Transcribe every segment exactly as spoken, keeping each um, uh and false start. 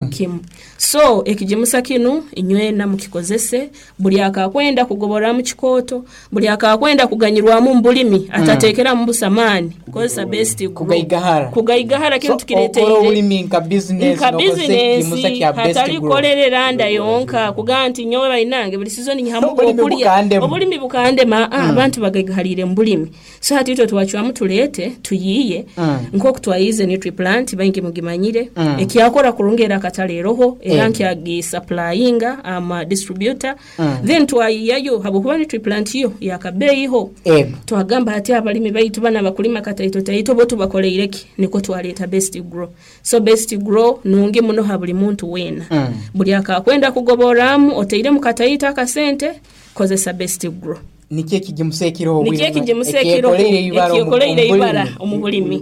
Kimu. So ekigimusa kinu inywena mukikozese. Buli akakwenda kugoboramu kikooto, buli akakwenda kuganyirwamu mu bulimi, atateekeramu busa maani, kozesa Best Grow. Kugaigahara. Kugaigahara kinu So, tukireteire. okora obulimi nka business, nka nokozesa ekigimusa bizinesi kya Best hatali Grow. Kukolerera nda yonka, kugaa nti nyowe bainange buli sizoni nyihamu Obulimi okulya. bukandemu. Obulimi bukandema. mm. Abantu bagaigahalire mu bulimi, so hati itwe twacwamu tuleete tuyiiye Mm. nkoku twayize Nutriplant, baingi mugimanyire, Mm. ekyakora kurungi, era akatale eroho, era Eh. nkyagisupplyinga ama distributor. Mm. Then twayiyayo, habwokuba Nutriplant yo yakabeeyiho. Ego. Twagamba hati abalimi baitu bana bakulima kataito taito, bo tubakoleireki? Niko twaleeta Best Grow. So Best Grow nungi muno ha buli muntu weena. Mm. Buli akakwenda kugoboramu oteiremu kataito akasente, kozesa Best Grow. Nikyo ekigimusa ekiroho. Nikyo ekigimusa ekiroho ekyekoleire ibara omu- ekyekoleire omu ibara bulimi. Omu bulimi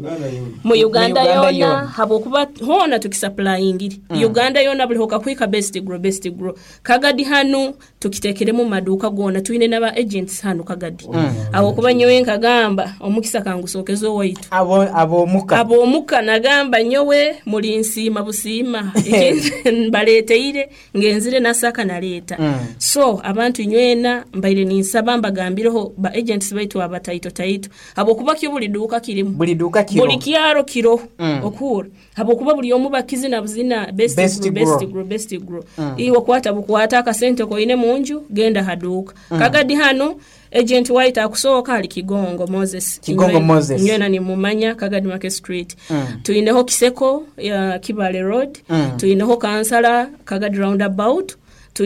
mu Uganda Uganda yona. Yona. Habwokuba hoona tukisupplyingire Uganda yona, buli hokakwika Best Grow, Best Grow. Kagadi hanu tukitekeremu mu maduuka gona, twine n'aba agents hanu Kagadi, habwokuba nyowe nkagamba omukisa kangusookeze owaitu. Abo abomuka. Ab'omuka nagamba nyowe muli nsiima busiima. Ekindi mbaleeteire ngenzire nasaka naleeta. Mm. So abantu nywena mbaire ninsaba mbagambireho ba agents baitu abataito taito, habwokuba kyo buli duuka kirimu. Buli duuka kiro. Buli kyaro kiro. Mm. Okuhura, habwokuba buli omu bakizina buzina Best, Best Grow, Grow. Best Grow, Best Grow. Iwe kwata bukwata akasente koine munju, genda haduuka. Kagadi hano agent white akusooka ali Kigongo Moses. Kigongo Nywena- Moses. Nywena nimumanya, Kagadi Market Street. Mm. Tuineho Kiseko ya Kibale Road. Mm. Tuineho Kansala Kagadi Roundabout.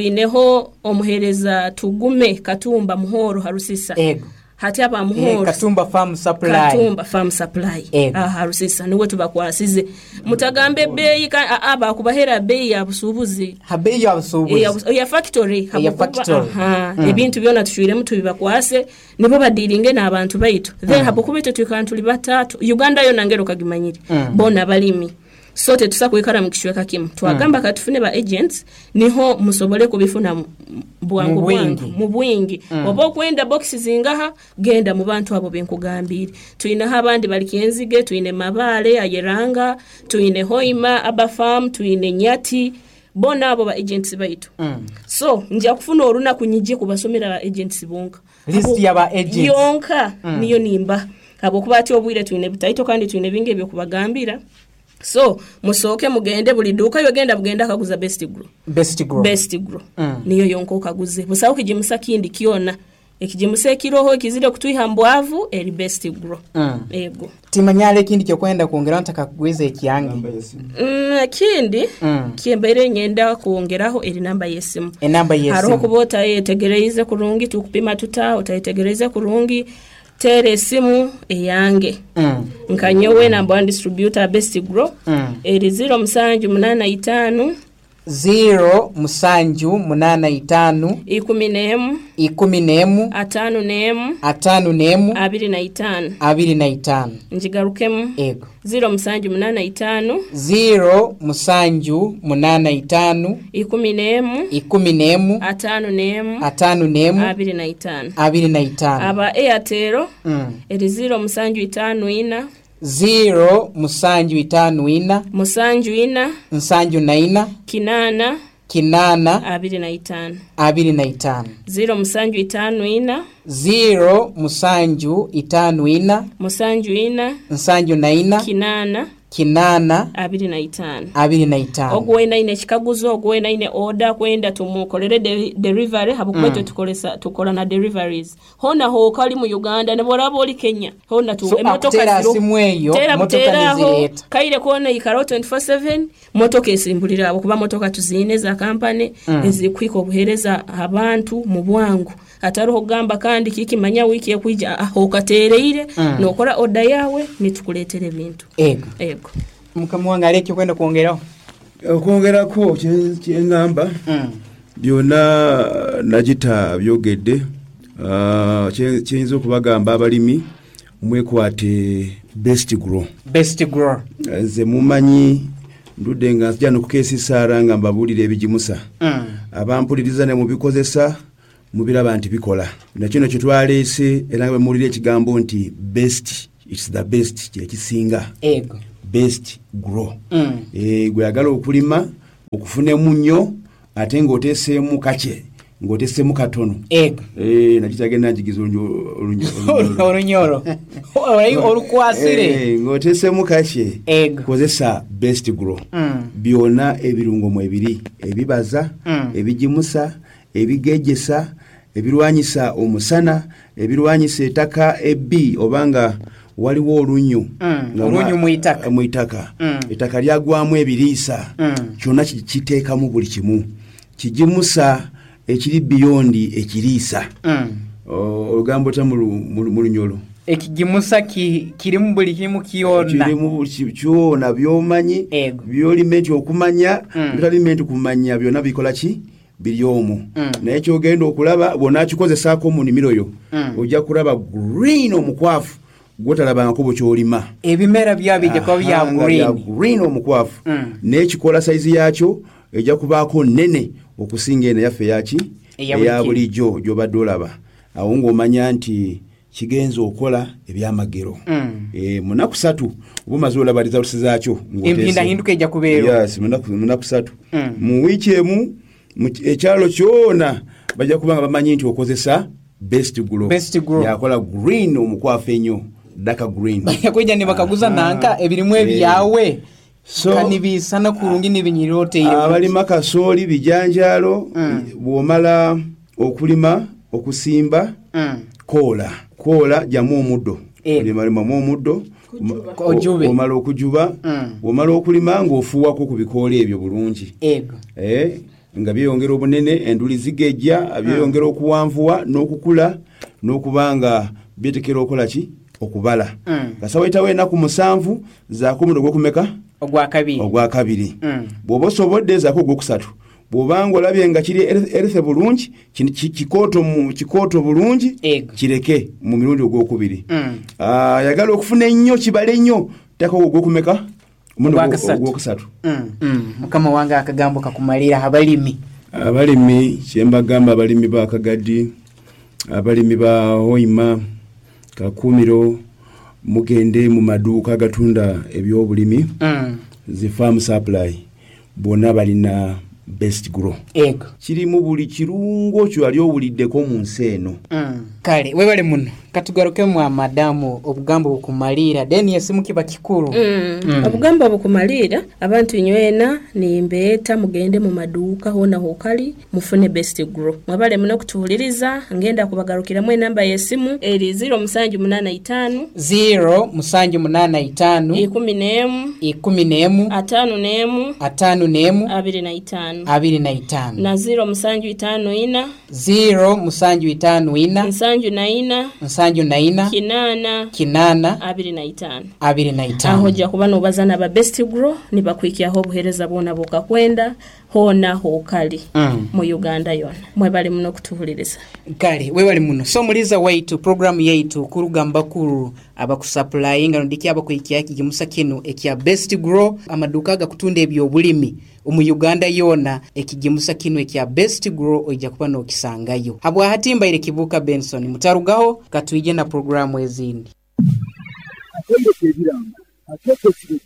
Tuineho omuhereza Tugume Katumba Muhoro Harusisa. Ego. Hati aba Eh, Muhoro. Katumba Farm Supply. Katumba Farm Supply. Ego. Aha Rusisa niwe tubakwasize. Mutagambe ebbeeyi, ka- aa, bakubahera bbeeyi ya busuubuzi. Ha beeyi ya busuubuzi. Eya ya factory. Eya Habwokuba- factory. Aha, Mm. ebintu byona tushwiremu tubibakwase, nibo badiringe n'abantu baitu. Then habwokuba itwe twikara tuli batatu Uganda yona, ngero kagimanyire, Mm. bona balimi, so tetusa kwikara mu kicweka kimu. Twagamba katufune ba agents, niho musobole kubifuna mu- bwangu Mu bwingi. Bwangu mu bwingi. Oba okwenda box zingaha, genda mu bantu abo benkugambire. Tuineho abandi bali Kyenzige, tuine Mabaale Ayeranga, tuine Hoima Abafarm, tuine Nyati, bona abo ba agents baitu. Mm. So nja kufuna olunaku nyije kubasomera ba agents bonka. List Abo- y'aba agents. Yonka niyo nimba, habwokuba ati obwire twine butaito kandi twine bingi ebyokubagambira. So musooke mugende buli duuka, yogenda bugenda akaguza Best Grow. Best Grow. Best Grow. Mm. Niyo yonka okaguze, busawo kigimusa kindi kyona. Ekigimusa ekiroho ekizire kutwiha mbwavu eri Best Grow. Mm. Ego. Timanyala ekindi kyokwenda kwongeraho ntakakugwiza ekyange. Mm, ekindi Mm. kyembaire nyenda kwongeraho eri namba y'esimu. Enamba Hariho y'esimu. kuba otayetegereize kurungi tukupima tuta, otayetegereize kurungi, teera esimu eyange. Mm. Nka nyowe number one distributor Best Grow, Mm. eri ziro musanju munana itaano, ziro musanju munana itaano, ikumi n'emu, ikumi n'emu, ataano n'emu, ataano n'emu, abiri na itaano. Abiri na itaano. Ngigarukemu. Ego. Ziro musanju munana itaano, ziro musanju munana itaano, ikumi n'emu, ikumi n'emu, ataano n'emu, ataano n'emu, abiri na itaano. Abiri na itaano. Aba Airtel, Mm. eri ziro musanju itaano ina, ziro musanju itaano ina, musanju ina, nsanju na ina, kinaana, kinaana, abiri na itaano. Abiri na itaano. Ziro musanju itaano ina, ziro musanju itaano ina, musanju ina, nsanju na ina, kinaana, kinaana, abiri na itaano. Abiri na itaano. Ogwo wena aine ekikaguzo, ogwo wena aine order kwenda tumukolere de- delivery, habwokuba itwe tukolesa tukora na deliveries hona hooka ali mu Uganda ne bworaba oli Kenya hona tu So, akutera simu eyo, tera motoka buteeraho nezireeta. Kaire kona ikaraho twenty-four seven, motoka esimbulira abo, kuba motoka tuziine za kampani mm. ezikuhika obuheereza abantu mu bwangu, hatariho kugamba kandi kikimanya wiiki ekwija. Aho okateereire mm. nokora order yawe, nitukuleetera ebintu. Ego. Ego. Mukama wange, ali ekyokwenda kwongeraho? Okwongerako kye- kyeŋŋamba Mm. byonna nagita byogedde. Ah, kye- kyeyinza okubagamba abalimi, mwekwate Best Grow. Best Grow. Nze mumanyi ndudde nga nzija nokukeesisaara nga mbabuulira ebigimusa. Mm. Abampuliriza ne mubikozesa, mubiraba nti bikola. Nakino kyetwaleese, era nga bwemuwulira ekigambo nti best, it's the best, kyekisinga. Ego. Best Grow. Mm. Eh, gwe yagala okulima. Okufunemu nnyo ate ng'oteeseemu kake, ng'oteeseemu katono. Ego. Eh, nakitagenda njigiza olunyo- olunyo- Orunyoro Ori- orukwasire. Eh, ng'oteeseemu kake. Ego. Kozesa Best Grow. Mm. Byonna ebirungo mwebiri, ebibaza, Mm. ebigimusa, ebigejesa, ebirwanyisa omusana, ebirwanyisa ettaka ebbi obanga waliwo olunnyu. Mm, Nga olunnyu mwa- mu itaka. Mu itaka. Mm. Ettaka lyagwamu ebiriisa. Mm. Kyonna ki- kiteekamu buli kimu, kigimusa ekiri biyondi ekiriisa. Mm. O- olugambo ta mu lu- mu lu- mu lunyolo. Ekigimusa ki- kirimu buli kimu kyona. Kirimu buli ki- kyona byomanyi. Ego. Byolime nti okumanya, Mm. byotalime nti kumanya, byonna bikola ki, biri omwo. Mm. Naye kyogenda okulaba bw'onakikozesaako mu nnimiro yo, Mm. ojja kulaba green omukwafu gwotalabangako bwekyolima. Ebimera byabijja kuba bya Aha, nga bya green. green omukwafu. Mm. N'ekikola sayizi yakyo ejja kubaako nene okusinga eno yaffe yaki Eya buli eya kiro. bulijjo gy'obadde olaba awo, ng'omanya nti kigenza okola ebyamagero. Mm. Eh, mu nnaku satu oba omaze olaba results zaakyo ng'oteese. Empindahinduka ejja kubeera. Yes, mu nnaku- mu nnaku satu. Mm. Mu wiiki emu mu ki- ekyalo kyona bajja kuba nga bamanyi nti okozesa Best Grow. Best Grow. Yakola green omukwafu ennyo, daka green. Kwijja nibakaguza Aha. nanka ebirimu Eh. ebyawe So- kanibisana kurungi nibinyirira oteire. Abalima kasooli, bijanjaalo, Mm. bw'omala okulima, okusimba, Mm. koola koola, jamu omuddo. Eh. Olimalimamu omuddo. Kujuba. Ojube. Omala okujuba, Mm. omala okulima ng'ofuuwako ku bikoola ebyo bulungi. Ego. Eh, nga byeyongera obunene, enduli zigejja, byeyongera okuwanvuwa n'okukula n'okuba nga byetekera okola ki, okubala. Mm. Kasa wayitawo ennaku musanvu, zaako omuddo ogwokumeka? Ogwakabiri. Ogwakabiri. Mm. Bw'oba osobodde, zaako ogwokusatu. Bw'obanga olabye nga kiri erethe bulungi, kini- ki- kikooto mu- kikooto bulungi, Ego. kireke mu mirundi ogwokubiri. Mm. Ah, ayagala okufuna ennyo, kibale ennyo, teekako ogwokumeka? Omurundi ogwo- Ogwakusatu. ogwokusatu. Mm. Mm. Mukama wange, akagambo kakumalira abalimi. Abalimi kyembagamba, abalimi ba Kagadi, abalimi ba Hoima, Kakumiro, mugende mu maduuka agatunda ebyobulimi, Mm. zi farm supply, bonna balina Best Grow. Ego. Kirimu buli kirungo kyewali owuliddeko mu nsi eno. Mm. Kale webale muno, katugarukemu amadamu obugambo bukumalira, then esimu kiba kikuru. Mm. Mm. Obugambo bukumaliira abantu nywena nimbeeta mugende mu maduuka hona hokali mufune Best Grow. Mwabale muno kutuwuliriza, ngenda kubagarukiramu enamba y'essimu eri ziro musanju munaana itaano, zero musanju munaana itaano, ikumi n'emu, ikumi n'emu, ataano n'emu, ataano n'emu, abiri na itaano, abiri na itaano, na ziro musanju itaano ina, zero musanju itaano ina, nsanju na ina, nsanju na ina, kinaana, kinaana, abiri na itaano. Abiri na Aho itaano. ojja kuba nobaza naba Best Grow nibakwikyaho obuheereza bwona bwokakwenda hoona hokali Mm. mu Uganda yona. Mwebale muno okutuwuliriza. Kale webale muno. So muliza waitu, programu yaitu kuruga mbakuru abakusapulayinga nodiki abakwikya ekigimusa kinu ekya Best Grow, amaduka agakutunda ebyobulimi omu Uganda yona, ekigimusa kinu ekya Best Grow oija kuba nokisangayo. Habwahati mbaire Kibuka Benson, mutarugaho, katwije na programu ezindi. Akaire k'ebiranga akeeko ekirego.